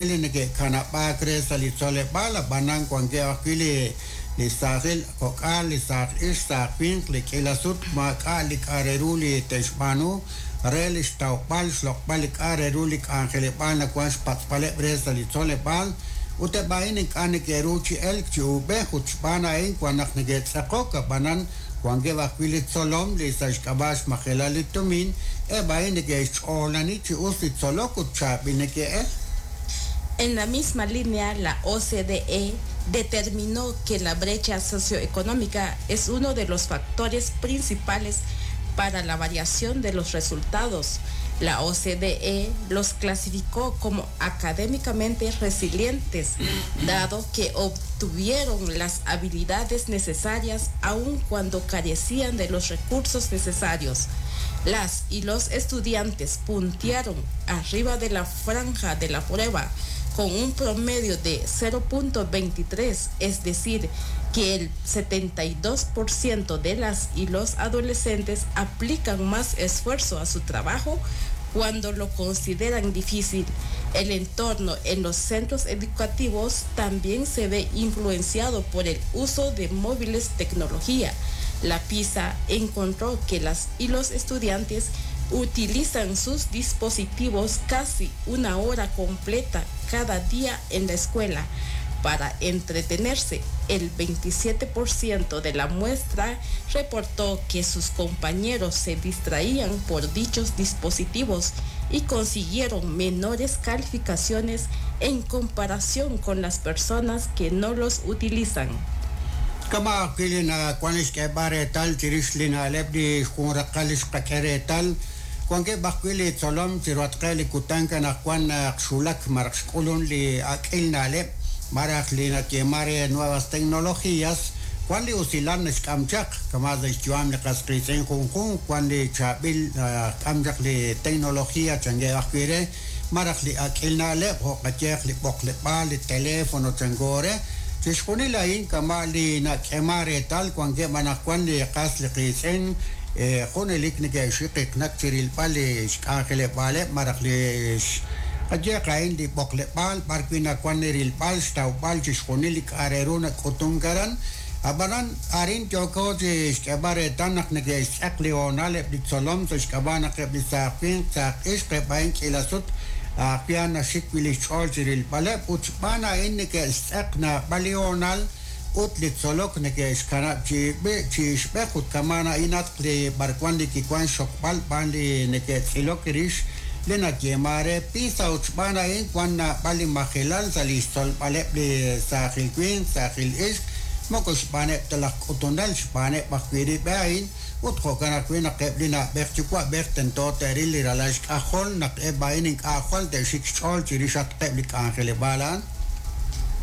Li neke'kanab'aak re sa' li tzoleb'aal, ab'anan wankeb' ajwi' li saajil kok'al, li saaj ixq, saaj winq li k'iila sut maak'a' li k'a' re ru li te'xb'aanu re li xtawb'al xloq'b'al li k'a' re ru li k'anjeleb'aal nawank xpatz'b'aleb' re sa' li tzoleb'aal, ut eb' a'in ink'a' neke'ru chi elk chi uub'ej ut xb'aan a'in wan naq neke'tz'eqok. Ab'anan wankeb' ajwi' li tzolom li sa' xk'ab'a' xmajelal li tumin, eb' a'in neke'xch'oolani chi us li tzolok ut chaab'il neke'el. En la misma línea, la OCDE determinó que la brecha socioeconómica es uno de los factores principales para la variación de los resultados. La OCDE los clasificó como académicamente resilientes, dado que obtuvieron las habilidades necesarias aun cuando carecían de los recursos necesarios. Las y los estudiantes puntearon arriba de la franja de la prueba con un promedio de 0.23, es decir, que el 72% de las y los adolescentes aplican más esfuerzo a su trabajo cuando lo consideran difícil. El entorno en los centros educativos también se ve influenciado por el uso de móviles tecnología. La PISA encontró que las y los estudiantes utilizan sus dispositivos casi una hora completa cada día en la escuela para entretenerse. El 27% de la muestra reportó que sus compañeros se distraían por dichos dispositivos y consiguieron menores calificaciones en comparación con las personas que no los utilizan. Kama' ajwi' li nawank xk'eeb'al reetal chirix li na'leb' li xjunraqal li xqak'e reetal, wankeb' ajwi' li tzolom chiruhatqeb' li kutan anaqwan naq xwulak malaj xk'ulun li ak'il na'leb' malaj li nayeeman re nuevas tecnologías, wan li usilal naxk'am chaq, kama' sa' xyu'am li qas qiitz'in junjunq, wan li chaab'il k'am chaq li tecnología chankeb' ajwi' re, malaj li ak'il na'leb' jo' qayehaq li b'oqleb'aal, li teléfono chanko re, chixjunil a'in kama' li nak'eeman reetal wankeb' anaqwan li qas li qiitz'in junelik neke'xiqiknak chi rilb'al li xk'anjeleb'aaleb' malaj li qayehaq a'in li b'oqleb'aal b'arwi' nawank li rilb'al xtawb'al chixjunil li k'a' re ru nak'utunk aran. Ab'anan arin yooko chi xk'eeb'al reetal naq neke'xtz'eq li hoonal eb' li tzolom sa' xk'ab'a' naq eb' li saaj winq saaj ixq eb' a'in k'iila sut ajwi' a'an naxik wi' li xch'ool chi rilb'aleb' ut xb'aan a'in neke'xtz'eq naab'al li hoonal ut li tzolok neke'xkanab' chi ixb'ej ut kama'an a'inatq li b'arwan li kiwank xxokb'al b'aan li neke'tz'ilok rix li nayeeman re PISA ut xb'aan a'in wan naab'al li majelal sa' li xtzolb'aleb' li saajil winq saajil ixq moko xb'aaneb' ta laj k'utunel xb'aaneb' ajwi' rib' a'in ut jo'kan ajwi' naq eb' li na'b'ej yuwa'b'ej tento te'ril li ralal xk'ajol naq eb' a'in ink'a' jwal te'xik xch'ool chirixatqeb' li k'anjeleb'aal a'an.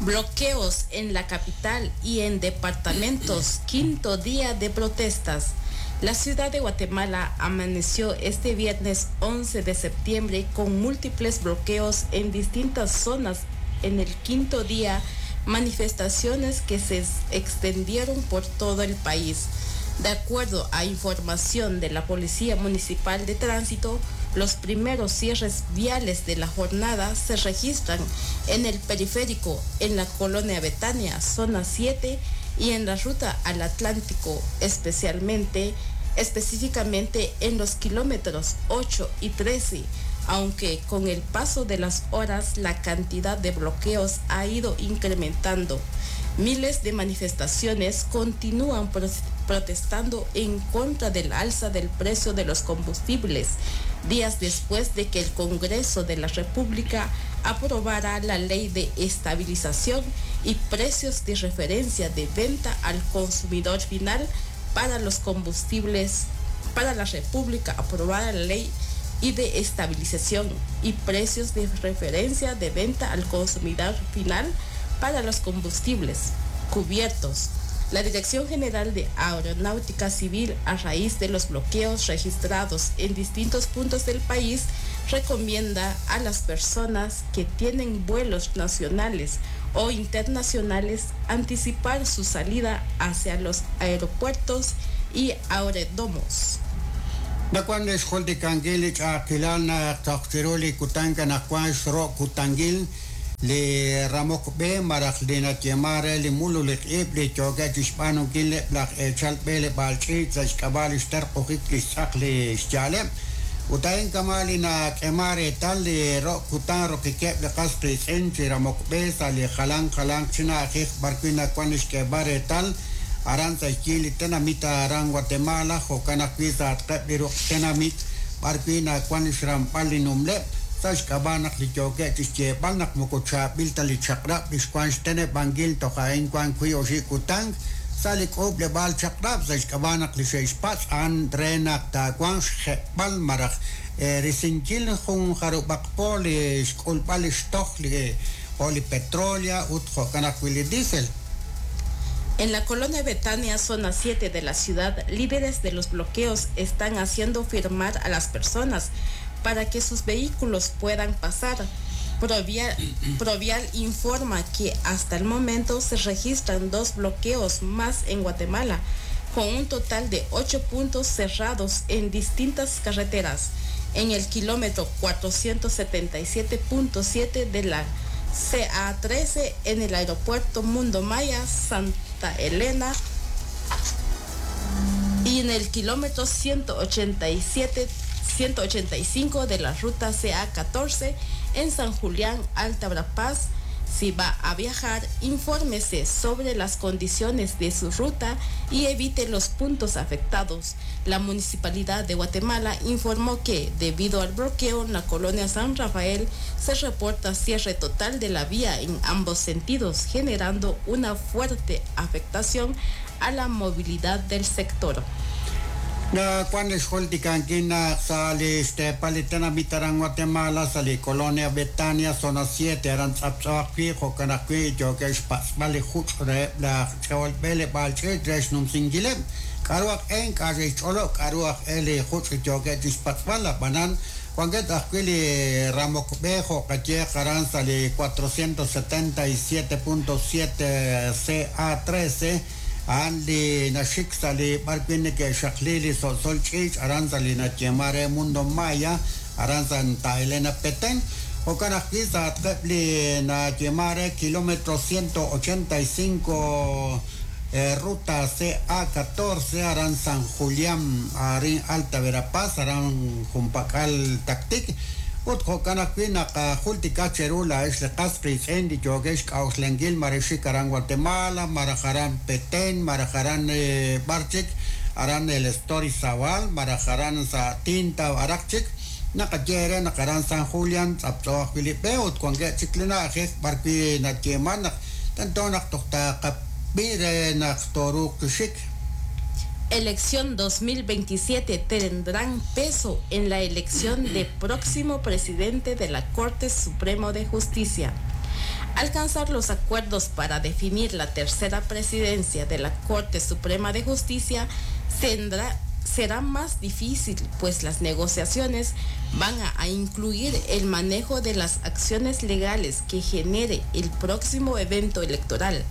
Bloqueos en la capital y en departamentos, quinto día de protestas. La ciudad de Guatemala amaneció este viernes 11 de septiembre con múltiples bloqueos en distintas zonas en el quinto día, manifestaciones que se extendieron por todo el país. De acuerdo a información de la Policía Municipal de Tránsito, los primeros cierres viales de la jornada se registran en el periférico, en la colonia Betania, zona 7, y en la ruta al Atlántico, especialmente, específicamente en los kilómetros 8 y 13, aunque con el paso de las horas la cantidad de bloqueos ha ido incrementando. Miles de manifestaciones continúan protestando en contra del alza del precio de los combustibles, días después de que el Congreso de la República aprobara la ley de estabilización y precios de referencia de venta al consumidor final para los combustibles, para la República aprobara la ley y de estabilización y precios de referencia de venta al consumidor final para los combustibles cubiertos. La Dirección General de Aeronáutica Civil, a raíz de los bloqueos registrados en distintos puntos del país, recomienda a las personas que tienen vuelos nacionales o internacionales anticipar su salida hacia los aeropuertos y aeródromos. Nawank li xjultikankil li ch'a'ajkilal naq toj chiru li kutan anaqwan xro' kutankil. Li ramok b'e malaj li nayeeman re li mululik ib' li yookeb' chi xb'aanunkil eb' laj eechal b'eleb'aal ch'iich' sa' xk'ab'a' li xterq'ujik li xtz'aq li xya'aleb'. Ut a'in kama' li nak'eeman reetal li ro' kutan rokikeb' li qas qiitz'in chi ramok b'e sa' li jalanq jalanq chi na'ajej b'arwi' nawan li xk'eeb'al reetal aran sa' xyi li tenamit aran Guatemala, jo'kan ajwi' sa'atqeb' li ruq' tenamit b'arwi' nawan li xramb'al li numleb', sa' xk'ab'a' naq li yookeb' chi xyeeb'al naq moko chaab'il ta li chaq'rab' li xwank xteneb'ankil toj a'in wank wiib' oxib' kutan sa' li k'uub'leb'aal chaq'rab' sa' xk'ab'a' naq li xe'xpatz' a'an re naq taawanq xjeb'b'al malaj risinkil jun jarub'aq po li xk'ulb'al li xtoj li jo' li petróleo ut jo'kan ajwi' li diésel. En la colonia Betania, zona 7 de la ciudad, líderes de los bloqueos están haciendo firmar a las personas para que sus vehículos puedan pasar. Provial informa que hasta el momento se registran 2 bloqueos más en Guatemala, con un total de 8 puntos cerrados en distintas carreteras. En el kilómetro 477.7 de la CA13 en el aeropuerto Mundo Maya, Santa Elena, y en el kilómetro 185 de la ruta CA14 en San Julián, Alta Verapaz. Si va a viajar, infórmese sobre las condiciones de su ruta y evite los puntos afectados. La Municipalidad de Guatemala informó que, debido al bloqueo en la colonia San Rafael, se reporta cierre total de la vía en ambos sentidos, generando una fuerte afectación a la movilidad del sector. Nakuan xjultikankil naq sa' li xteepal li tenamit aran Guatemala, sa' li colonia Betania, zona 7, aran tz'aptz'o ajwi', jo'kan ajwi' yookeb' xpatz'b'al li juch' reheb' laj ch'ol b'eleb'aal ch'iich' re xnumsinkileb'. K'a'ru aj e ink'a' xe'xch'olob' k'a'ru aj e li juch' yookeb' chi xpatz'b'al, ab'anan wankeb' ajwi' li ramok b'e jo' qayeeq aran sa' li 477.7 CA13, a'an li naxik sa' li b'arwi' neke'xaqli li so'sol ch'iich' aran sa' li nayeeman re Mundo Maya, aran Santa Elena Petén. Jo'kan ajwi' sa'atqeb' li nayeeman re kilómetro 185 ruta CA14 aran San Julián, arin Alta Verapaz, aran junpak'al Tactic. Ut jo'kan ajwi' naq jultika cheru laa'ex li qas qiitz'in li yookeb' xk'a'uxlankil mare xik aran Guatemala, maraj aran Petén, maraj aran b'ar chik, aran el Story Zabal, maraj aran sa' Tinta araq chik. Naqaye re naq aran San Julián tz'aptz'o ajwi' li b'e ut wankeb' chik li na'ajej b'arwi' nayeeman naq tento naq toj taqab'i re naq tooruuq xik. Elección 2027 tendrán peso en la elección de próximo presidente de la Corte Suprema de Justicia. Alcanzar los acuerdos para definir la tercera presidencia de la Corte Suprema de Justicia será más difícil, pues las negociaciones van a incluir el manejo de las acciones legales que genere el próximo evento electoral.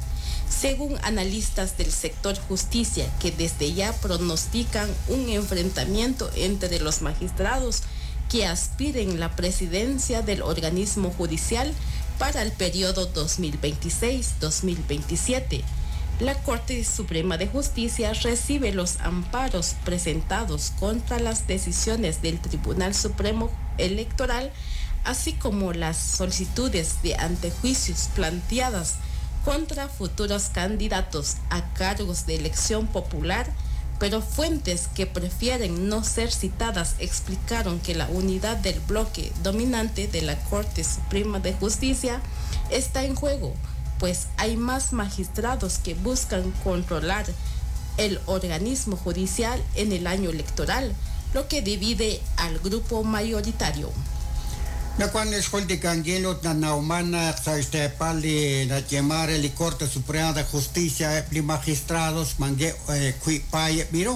Según analistas del sector justicia, que desde ya pronostican un enfrentamiento entre los magistrados que aspiren la presidencia del organismo judicial para el periodo 2026-2027. La Corte Suprema de Justicia recibe los amparos presentados contra las decisiones del Tribunal Supremo Electoral, así como las solicitudes de antejuicios planteadas contra futuros candidatos a cargos de elección popular, pero fuentes que prefieren no ser citadas explicaron que la unidad del bloque dominante de la Corte Suprema de Justicia está en juego, pues hay más magistrados que buscan controlar el organismo judicial en el año electoral, lo que divide al grupo mayoritario. Nakuan xjultikankil ut nanawman naq sa' xteepal li nayeeman re li Corte Suprema de Justicia eb' li magistrados mankeb' wiib' paayeb' b'iru.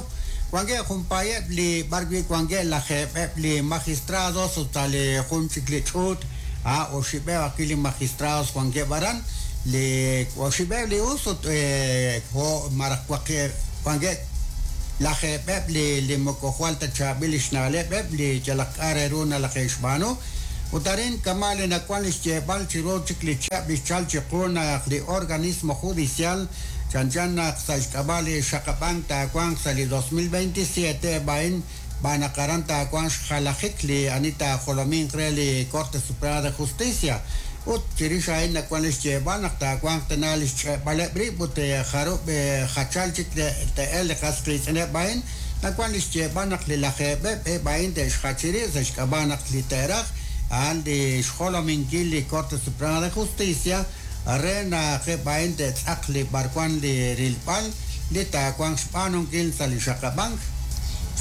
Wankeb' jun paayeb' li b'arwi' wankeb' lajeeb'eb' li magistrados ut sa' li jun chik li ch'uut oxib'eb' ajwi' li magistrados wankeb' aran. Li oxib'eb' li us ut jo' maraj wankeb' lajeeb'eb' li moko jwal ta chaab'il li xna'leb'eb' li yalaq k'a' re ru nalaje'xb'aanu. Ut arin kama' li nawan li xyeeb'al chiru chik li chihab' li xchal chiqu naq li organismo judicial chanchan naq sa' xk'ab'a' li xaqab'ank taawanq sa' li 2027 eb' a'in xb'aan naq aran taawanq xjalajik li ani taajolominq re li Corte Suprema de Justicia ut chirix a'in nawan li xyeeb'al naq taawanq tana li xch'e'b'aleb' rib' ut jarub' jachal chik te'el li qas qiitz'ineb' a'in nawan li xyeeb'al naq li lajeeb'eb' eb' a'in te'xjachi rib' sa' xk'ab'a' naq li te'raj a'an li xjolominkil li Corte Suprema de Justicia re naq eb' a'in te'tz'aq li b'arwan li rilb'al li taawanq xb'aanunkil sa' li xaqab'ank.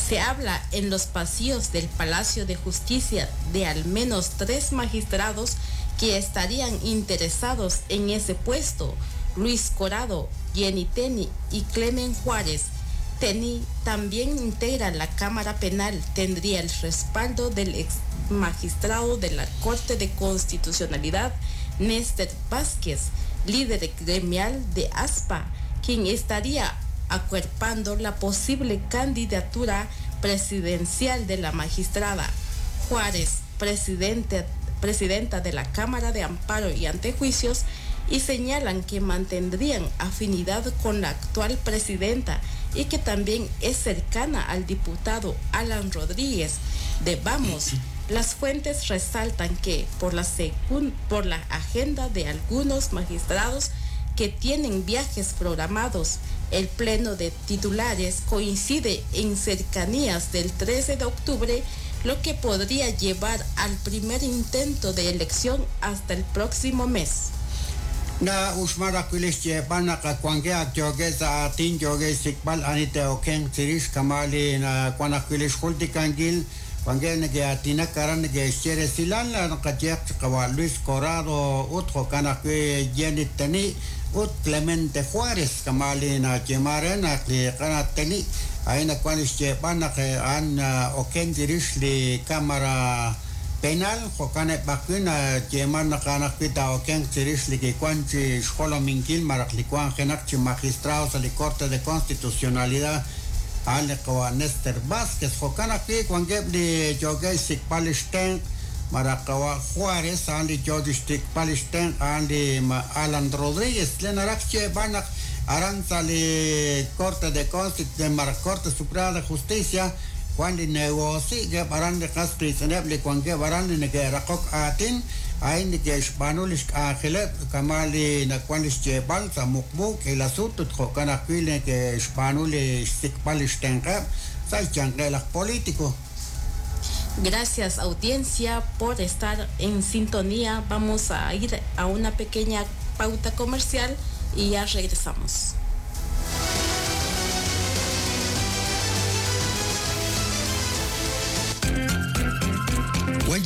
Se habla en los pasillos del Palacio de Justicia de al menos 3 magistrados que estarían interesados en ese puesto: Luis Corado, Jenny Teni y Clemen Juárez. Teni también integra la Cámara Penal, tendría el respaldo del ex magistrado de la Corte de Constitucionalidad, Néstor Vázquez, líder gremial de ASPA, quien estaría acuerpando la posible candidatura presidencial de la magistrada. Juárez, presidenta de la Cámara de Amparo y Antejuicios, y señalan que mantendrían afinidad con la actual presidenta y que también es cercana al diputado Alan Rodríguez de Vamos. Las fuentes resaltan que por la agenda de algunos magistrados que tienen viajes programados, el pleno de titulares coincide en cercanías del 13 de octubre, lo que podría llevar al primer intento de elección hasta el próximo mes. Na uxmar ajwi' xyeeb'al naq wankeb' ak yookeb' sa' aatin yookeb' xsik'b'al ani te'okenq chirix kama' li wan ajwi' li xjultikankil wankeb' neke'aatinak aran neke'xye resilal naqayeq chi qawa' Luis Corado ut jo'kan ajwi' Jenny Teni ut Clemente Juárez kama' li nayeema re naq li qana Teni a'in wan li xyeeb'al naq a'an oken chirix li Cámara Penal jo'kan eb' ajwi' nayeeman naq a'an ajwi' taa'okenq chirix li kiwan chi xjolominkil malaj li wanjenaq chi magistrado sa' li Corte de Constitucionalidad a'an li qawa' Néstor Vázquez jo'kan ajwi' wankeb' li yookeb' xsik'b'al li xtenq' malaj qawa' Juárez a'an li yoo chi xsik'b'al li xtenq' a'an li Alan Rodríguez le naraj xyeeb'al naq aran sa' li Corte de Constitucionalidad malaj Corte Suprema de Justicia wan li negoci keb' aran li qas qiitz'ineb' li wankeb' aran li neke'raqok aatin a'in neke'xb'aanu li xk'anjeleb' kama' li nawan li xyeeb'al sa' muqmu k'iila sut ut jo'kan ajwi' neke'xb'aanu li xsik'b'al li xtenq'eb' sa' xyanqeb' laj político. Gracias, audiencia, por estar en sintonía. Vamos a ir a una pequeña pauta comercial y ya regresamos.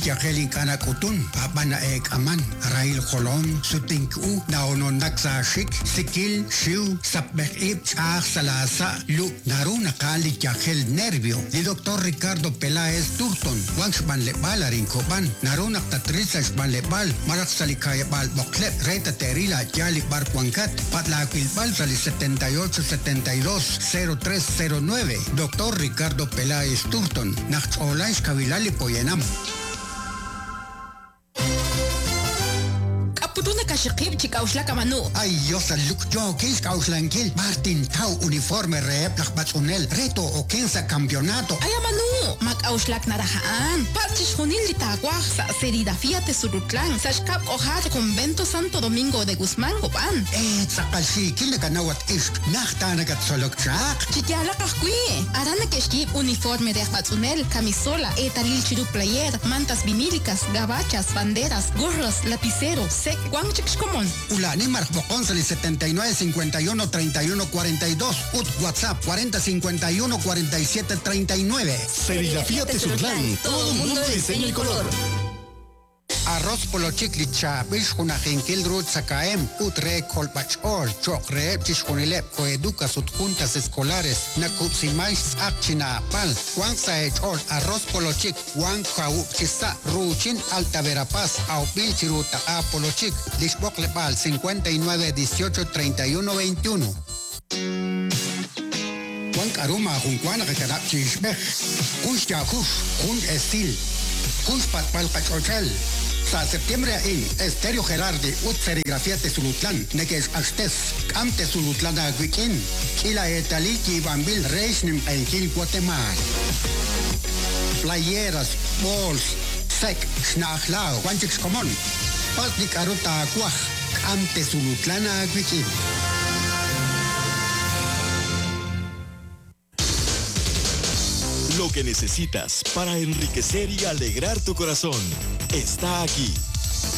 Yajel ink'ana k'utun ab'an eek'aman rahil jolom sutink'u naononak sa xik sikil xiw sapb'ej ib' ch'aj salasa lu naru naqal li yajel nervio li doctor Ricardo Peláez Turton wan xb'anleb'al arin Kob'an naru naq tatril sa xb'anleb'al malaj sa li ka'yab'al b'oqleb' re tate'ril a'yaal li b'ar wankat patlaawilb'al sa li 78 72 0309 Doctor Ricardo Peláez Turton naq ch'oolan xkawilal li poyanam. Kaxiqib' chi k'auxlak amanu. Ay, Dios, luk yookil xk'auxlankil Martin Tau uniforme reheb' laj b'atz'unel reto oken sa' campeonato. Ay, amanu, ma k'auxlak naraja'an. Patz' chixjunil li taawaj sa' serigrafía Tezurutlán, sa' xkab' k'ojar Convento Santo Domingo de Guzmán, Copán. Tz'aqal xiikil nakanawat ixq, najta nakatzolok chaq. Chiyaalaq ajwi'. Aran neke'xyiib' uniforme de aj b'atz'unel, camisola, eetalil chiru player, mantas vinílicas, gabachas, banderas, gorros, lapicero, sek, wan chik xkomon. Ulani maraj b'oqon sa' li 79 51 31 42 ut WhatsApp 40 51 47 39. Serigrafía Tezutlán, todo un mundo de diseño y color. Arroz polochik li chaab'il xjunajinkil ru tzakahem ut re kolb'ach'ool cho'q reheb' chixjunileb' koeducas ut juntas escolares nakub'siman xtz'aq chinaapal wan sa' ech'ool arroz polochik wan kawub' chisa' ruuchin Alta Verapaz awb'il chiru taq'a polochik li xb'oqleb'aal 59 18 31 21. Wan k'aru maajun wa naqakanab' chi ixb'ej jun xyaajux jun esil Jun xpatz'b'al qach'och'el. Sa' septiembre a'in, Estéreo Gerardi ut Serigrafía Tezulutlán neke'xq'axtes K'am Tezulutlán aawik'in, k'iila eetalil yiib'anb'il re xnimq'ehinkil Watemaal. Playeras, b'ools, sek', xna'aj laaw, wan chik xkomon. Patz' li k'a'ru taawaj, k'am Tezulutlán aawik'in. Lo que necesitas para enriquecer y alegrar tu corazón está aquí.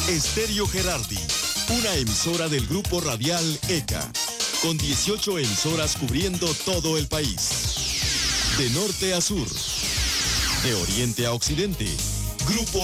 Estéreo Gerardi, una emisora del grupo radial ECA, con 18 emisoras cubriendo todo el país. De norte a sur, de oriente a occidente, Grupo